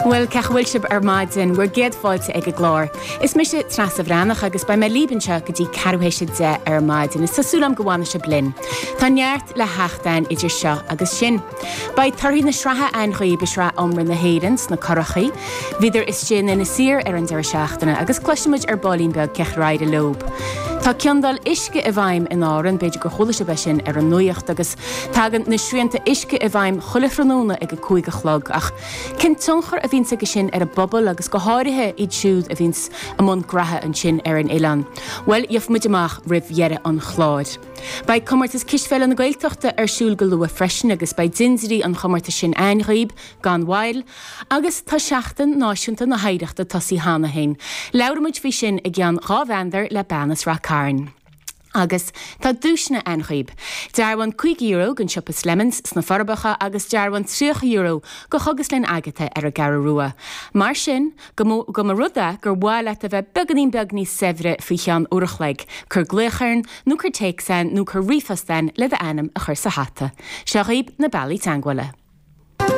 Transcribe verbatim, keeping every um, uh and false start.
Bhuel cén chaoi a bhfuil sibh ar maidin bhur gcéad fáilte ag an gclár. Is mise Treasa Bhreathnach agus beidh mé libh anseo go dtí ceathrú théis a deich ar maidin is tá súil agam go bhfanfaidh sibh linn. Tá neart le theacht againn idir seo agus sin. Beidh torthaí na sraithe againn dhaoibh i sraith iomramh na hÉireann sna curachaí. Bhíodar istigh in Inis Oírr ar an deireadh seachtaine agus cloisfimid ar baillín beag cén chaoi ar éirigh leo. Tá ciondáil uisce i bhfeidhm in Árainn, b'fhéidir gur chuala sibh é sin ar an nuacht agus tagann na srianta uisce i bhfeidhm chuile thráthnóna ag a cúig a chlog ach cén tionchar a bhíonns aige sin ar an bpobal agus go háirithe iad siúd a bhíonns i mbun graithe ansin ar an oileán. Well gheobhaimid amach roimh dheireadh an chláir. Beidh comórtas cispheile na Gaeltachta ar siúl go luath freisin agus beidh dindirí an chomórtais sin againn dhaoibh gan mhoill, agus tá seachtain náisiúnta na hoidhreachta tosaithe cheana féin. Labhróimid faoi sin i gceann dhá mheandar le bean as Ráth Cairn. Agus tá duaiseanna againn dhaoibh. Dearbhán cúig euro don siopa Slemons sna Forbacha agus dearbhán tríocha euro go Chógaslann Agatha ar an gCeathrú Rua. Mar sin go mba rud é gur mhaith leat a bheith beagáinín beag níos saibhre faoi cheann uair a chloig, cuir glaoch orainn nó cuir téacs nó cuir ríomhphost le d'ainm a chur sa hata. Seo dhaoibh na bealaí teagmhála.